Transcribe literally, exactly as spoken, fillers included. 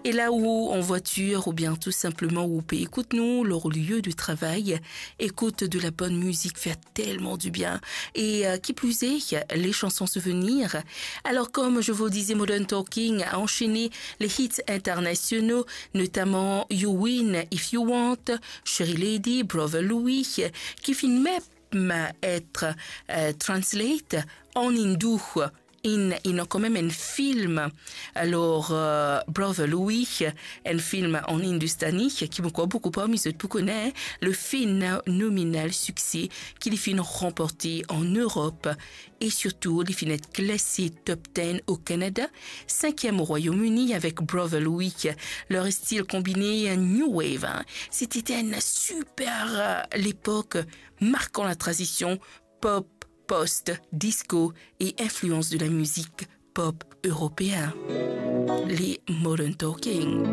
Et là où en voiture ou bien tout simplement où on peut écouter nous, leur lieu de travail, écoute de la bonne musique fait tellement du bien. Et euh, qui plus est, les chansons souvenirs. Alors comme je vous le disais, Modern Talking a enchaîné les hits internationaux, notamment You Win If You Want, Cherry Lady, Brother Louis, ki finn mem et euh, translate an indou. In, ena kanmem enn film. Alors, euh, Brother Louis, enn film an industani, ki mo krwar boukou parmi zot pou kone, le fenomenal succès ki li finn ranporte an Erop. E sirtou, li finn et klase top ten o Kanada, sinkiem o Royaume-Uni avek Brother Louis. Leur style combiné new wave, hein. C'était une super euh, l'époque, marquant la transition pop, post, disco et influence de la musique pop européen. Les Modern Talking.